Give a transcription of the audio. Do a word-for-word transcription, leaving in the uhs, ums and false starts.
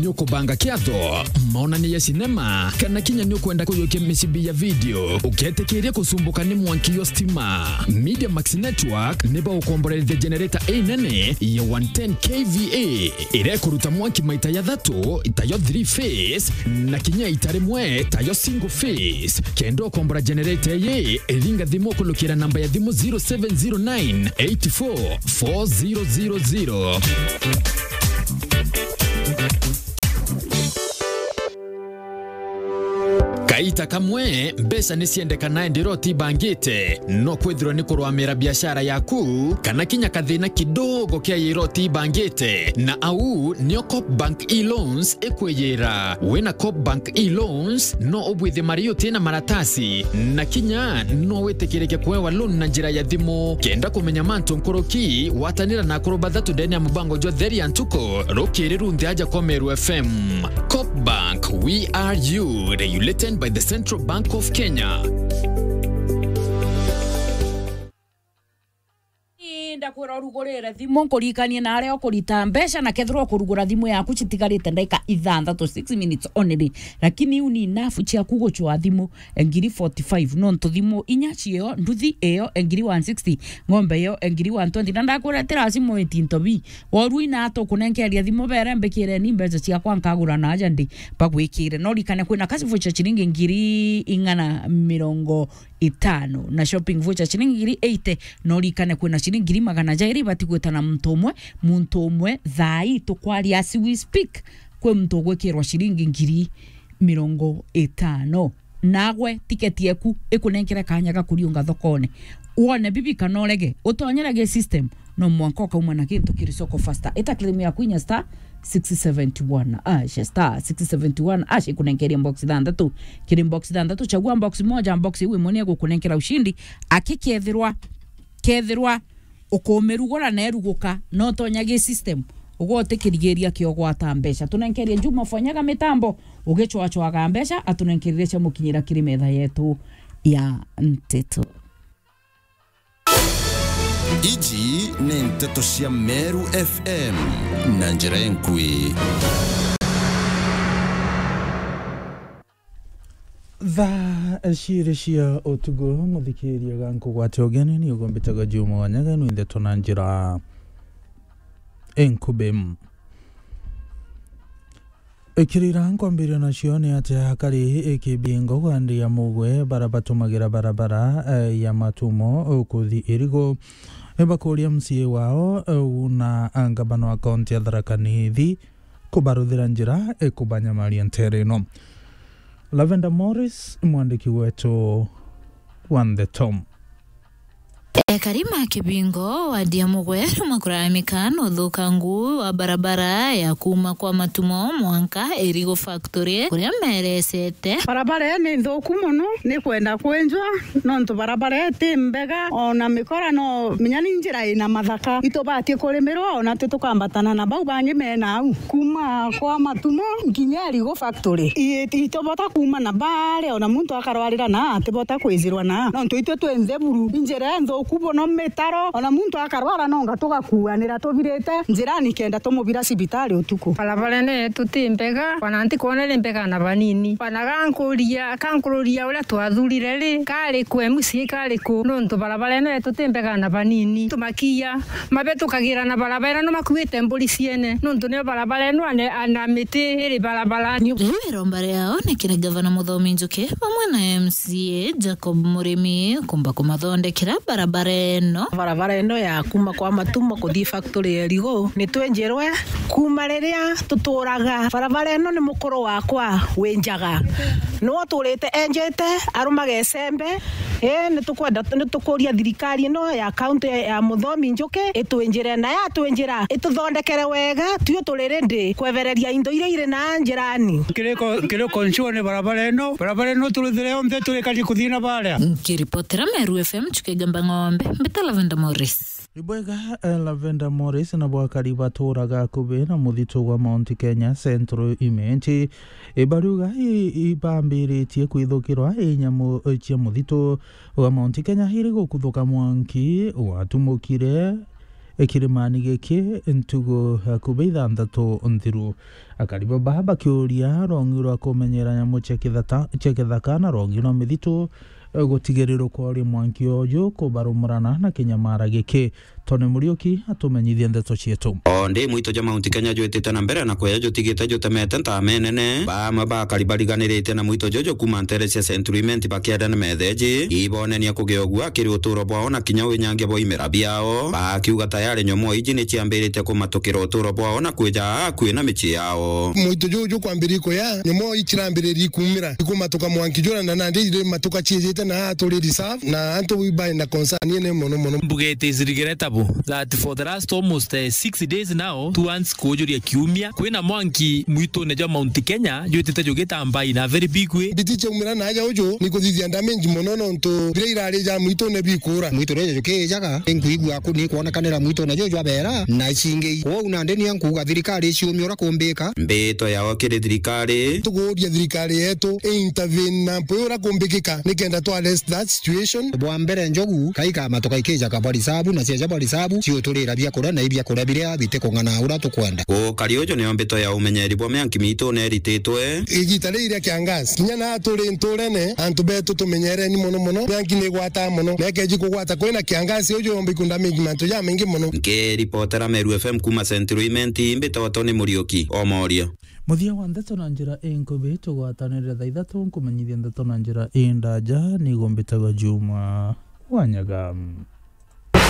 Ukubanga kiatho, maonania ya sinema, kana kinya ni ukwenda kuyukia micibi ya video, uketikiria kucumbuka ni mwanki yo stima. Media Max Network ni baukomborerithia generator inene ya one ten K V A, iria ikuruta mwanki maita ya thatu, tayo three phase, na kinya ita rimwe, tayo single phase. Kenda ukombora generator iyi, ringa thimu ukulukira namba ya thimu zero seven zero nine eight four four zero zero zero. Kaita kamwe, mbeca ni ciendekana indi roti ibangite, no kwithirwa ni kurwamira biashara yaku, kana kinya kathina kidogo kia iroti ibangite, na au nio Coop Bank e-loans ikwiyira. Wina Coop Bank e-loans, no ubwithie mari uti na maratasi, na kinya no witikirike kuewa loan na njira ya thimu. Kenda kumenya mantu nkuruki, watanira na akuru bathatu ndene ya mubango jwa Theri ya Ntuku, rukiri runthe aja kwa Meru F M. Coop Bank, we are you, regulated by the Central Bank of Kenya. Ndakwira urugurire thimu, nkuririkanie na aria ukurita mbeca, na kethirwa ukurugura thimu yaku citigarite ndagika ithanthatu, six minutes only, lakini iu ni enough ciaku gucwa thimu ngiri forty-five, nontu thimu inya cio, nduthi iyo ngiri one sixty, ng'ombe iyo ngiri one twenty, na ndakwira ti lazima witi into bi. Woru ina atukunenkeria thimu bere mbikireni mbeca ciakwa nkagura na aja ndi bagwikire. No rikane kwina cash voucher ciringi ngiri ing'ana mirongo itano na shopping voucher ciringi ngiri eighty. No rikane kwina ciringi ngiri magana jairi ibati gwitana muntu umwe, muntu umwe thaa ii tukwaria as we speak, kwi muntu ugwikirwa ciringi ngiri mirongo itano. Nagwe tiketi eku ikunenkere kanya ga kuriunga thokone. Wone bibi kana urege, utonyere gi system, no mwanka ukauma na gintu kiri soko faster. Ita claim yaku inya star six seventy one ash, star six seventy one ash ikunenkerie box thanthatu. Kiri box thanthatu, chagua box moja, box iu imwe ni igukunenkera ushindi. Aki kethirwa, kethirwa ukumirugura na eruguka, no tonya gi system, ugwe utikirigiria kio gwata mbeca. Tunenkerie Juma Fonyaga mitambo, ugicwacwaga mbeca, atunenkerire cia mukinyira kiri metha yetu ya nteto. Iji ni nteto cia Meru F M na njira enkui. Thaa ciiri cia utuku, muthikiria ga nkugwate ugeni, ni ugumbitaga Juma Wanyaga, ni ndeto na njira enkubi. Ikirira nkwambiria nacio ni ati akari ikibingo gwa Ndia Mugwe bara batumagira barabara, eh, ya Matumo, eh, kuthi Irigu, eh, bakuria M C A wao, eh, na ngavana wa kaunti ya Tharaka Nithi kubaruthira njira, eh, kubanyamaria ntere ino. Lavender Morris, mwandiki wetu wa ndeto. Ekari ma Kibingo, wadi ya Mugwe, makuraramika na uthukangu wa barabara ya kuma kwa Matumo mwanka Irigu Factory, kuria meresete. Barabara ii ni nthuku mono, ni kwenda kwenjwa, nontu barabara ii ti mbega, ona mikora no minya ni njira ina mathaka. Itubatie kurimirwa, ona twi tukambatana na bau bangi mena au. Kuma kwa Matumo nginya Irigu Factory. I-, itubota kuma na baria, ona muntu akarwarira na atibota kwithirwa na. Nontu itwe twi ntheburu, injira nthuku bono, mitaro, ona muntu akarwara nonga tugakuanira tubirite njirani kenda tumubira cibitari utuku. Barabara ino yetu ti mbega, ona ntikwona iri mbega na banini. Ona gankuria, kankururia uria twathurire ri, kari ku M C A kari ku, nontu barabara ino yetu ti mbega na banini. Tumakia, mabitukagira na barabara ino makuite mburi ciene, nontu nio barabara ino ane-, ana miti iri barabara. Riu iromba riao ni kiri Gavana Muthomi Njuki bamwe na M C A Jacob Murimi kumba kumathondekera barabara ino. Barabara ino ya kuma kwa Matumo kuthi factory ya Irigu ni twenjirwe kuma riria tuturaga. Barabara ino ni mukuru wakwa wi Njaga, niwe uturite enjete, arumaga icembe. Ii, ni tukwenda, ni tukuria thirikari ino ya kaunti ya Muthomi Njuki itwinjire, na yatwinjira ituthondekere wega, tui turi ready kwebereria indo iria iri na njirani. Kiriko, kiriko nsure ni barabara ino, barabara ino turithire yonthe turikari kuthii na baria. Nkiripotera Meru F M, Chuka Igamba Ng'ombe, mbita Lavender Morris. Ibwega, eh, Lavender Morris na bwakari baturaga akubi na muthitu gwa Mount Kenya Central Imenti, ibariuga i-, ibambiritie kwithukirwa i nyamu, eh, cia muthitu gwa Mount Kenya iri gukuthuka mwanki watumukire kirimani giki ntugu akubei ithanthatu nthiru. Akari baba bakiuria rongi rwa kumenyera nyamu cia kithata-, cia kithaka na rongi rwa mithitu, gutigirirwa kwaria mwanki uju kubarumurana na kinyamara giki. Tony Muriuki atumenyithie ndeto cietu. O ndi mwito jwa Mount Kenya jwitite na mbere na kweja jutigite jutemete ntaama inene. Bamwe ba akari bariganirite na mwito juju kuuma ntere cia Century Imenti bakienda ni metheji ibonenia kugia ugua kiri uturo bwao na kinya winyangia bwa imera biao, bakiuga tayari nyomoo iji ni ciambirite kumatukira uturo bwao na kwija akui na micii yao. Mwito juju kwambiriria kuya, nyomoo icirambiririe kuumira ikumatuka mwanki jura na nandi iri matuka ciijite na aa turi reserve na antu baina concern ine mono mono. Mbuga it is regrettable that for the last almost, eh, six days now, two months kuujuria kiumia, kwina mwanki mwitune jwa Mount Kenya jwitite jugitamba in a very big way. Mbiti ciaumira na aja uju ni kuthithia damage mono nontu biria irari ja mwitune bikura. Mwitu rija jukijaga, ni nkuigua ku ni kwonekanira mwitune juju jwabera na cingi. Kwou nandi ni nkuuga thirikari iciumia uria kumbika. Mbito yao kiri thirikari. Tukuuria thirikari yetu i intervene na mpwi uria kumbikika nikenda twa arrest that situation. Bwa mbere njogu, kaika matuka ikijaga bwa risabu, na cieja bwa risabu, ciuturira biakuria na ibiakuria biria bitikung'ana uria tukwenda. Ukari uju nio mbito ya umenyeri bwa mianki mitu nerititwe. Igita riri ria kiangazi, kinya na turi nturene, antu betu tumenyereni mono mono, mianki ni igwata mono, na ikeji kugwata kwina kiangazi uju yomba ikunda mingi mantu jamaingi mono. Nkiripotera Meru F M kuuma Central Imenti, mbitagwa Tony Muriuki, Omoria. Muthia wa ndeto na njira inkubi, tugwatanire thaa ithatu nkumenyithia ndeto na njira indaja, nigo mbitagwa Juma Wanyaga.